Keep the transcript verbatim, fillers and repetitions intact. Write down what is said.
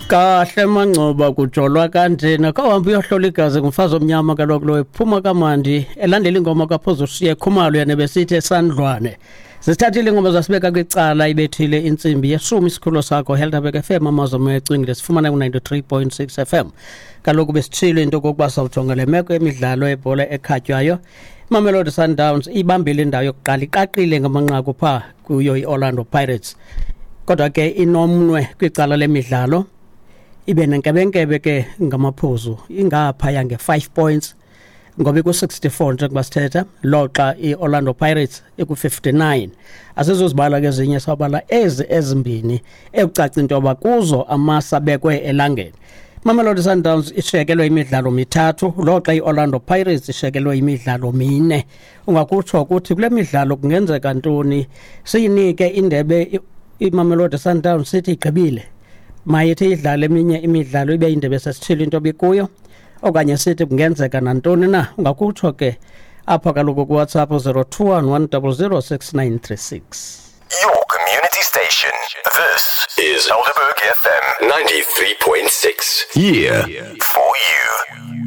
Kahle mangcoba, kujolwa kanjena. Khawuhambe uyohlola igazi, ngumfazi omnyama kaloku lo, ephuma kamandi elandela ingoma kaPhozoshiye Khumalo yena besithi esandlwane. Zisithathile ingoma zasibeka kwicala, ibethile intsimbi yeshumi. Isikhululo sakho Helderberg F M, amazwi omoya ecwingile, sifumana ku-ninety-three point six F M. Kaloku besitshilo into okokuba sawujonga le meko yemidlalo yebhola ekhatywayo. Imamelodi Sundowns ibambile indawo yokuqala, iqaqile ngamanqaku phaa kuyo i-Orlando Pirates, kodwa ke inomnwe kwicala lemidlalo, ibe nenkebenkebe ke ngamaphuzu, ingaphaya nge-five points ngoba iku-sixty-four njengoba sithetha, loxa i-Orlando Pirates iku-fifty-nine. Asizozibala ke ezinye, sawubala ezi ezimbini ekucaca into yoba kuzo amasa abekwe elangeni. Mamelodi Sundowns ishekelwe imidlalo mithathu, loxa i-Orlando Pirates ishekelwe imidlalo mine. Ungakutsho ukuthi kule midlalo kungenzeka ntoni? Siyinike indebe iMamelodi Sundowns, sithi igqibile, mayithi idlale eminye imidlalo ibe indebe sesithile into bikuyo, okanye sithi kungenzeka nantoni na? Ungakutsho ke apha kaloku kuWhatsApp zero two one one zero zero six nine three six. Your community station. This is Helderberg F M ninety-three point six. Yeah. For you.